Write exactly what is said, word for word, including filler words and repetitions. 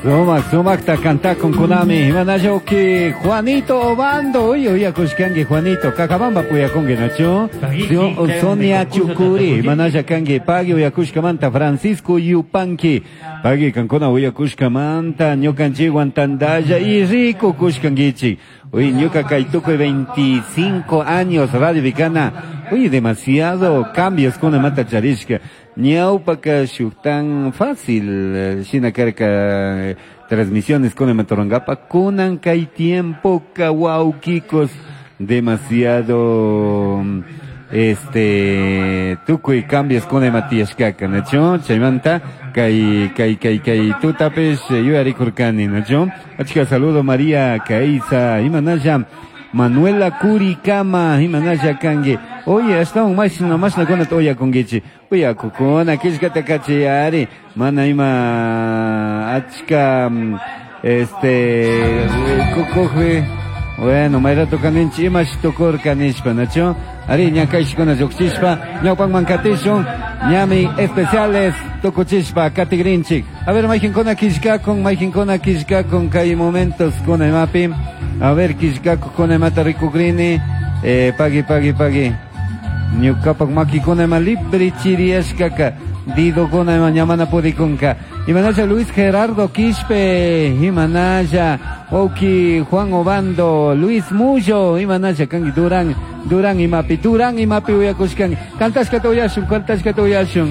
Sumak, sumakta kantakun kunami. Imanalla uki Juanito Obando. Uy, uyakushkanki Juanito. Cajabamba puyakunki, nachu? Sonia Chukuri. Imanalla kanki. Pagui uyakushkamanta. Francisco Yupanqui. Pagui kankuna uyakushkamanta. Ñukanchikwan tandalla y rico kushkankichik. Uy, ñuka kay tukuy veinticinco años Radio Vicana. Uy, demasiado cambios kuna mata charishka. Ñawpaka shuk tan fácil shina karka transmisiones kuna matorangapa kunan kay tiempo wawkikos demasiado este tukuy cambios kuna matiyashkaka, nachu? Chaymanta kay kay kay kay tutapish yuyarikurkani, nachu? Achka saludo María Kaisa, imanalla Manuela Curicama, imanalla kanki. Oye, ashtawan mashna mashna kunata uyakunkichik. Uyakukuna killkata kachiyari, mana ima achka este kukujpi. Bueno, mayrato kaninchik imash tukurka nishpa, nachu? Ari ñakayshkuna lluqshishpa ñawpanman katishun, ñami especiales tukuchishpa katigrinchik. A ver, mayqinkuna killkakun, mayqinkuna killkakun kay momentos kuna imapi. A ver, killkakukuna imata rikukrini. Eh, pagui, pagui, pagui. Ñukapak makikuna ima libre chiriyashkaka. Didokuna ima ñamana purikunka. Imanalla Luis Gerardo Quispe, imanalla Oki Juan Obando, Luis Mullo, imanalla kanki Durán, Durán imapi, Durán imapi uyakushkanki. Kantashkata uyashun, kantashkata uyashun.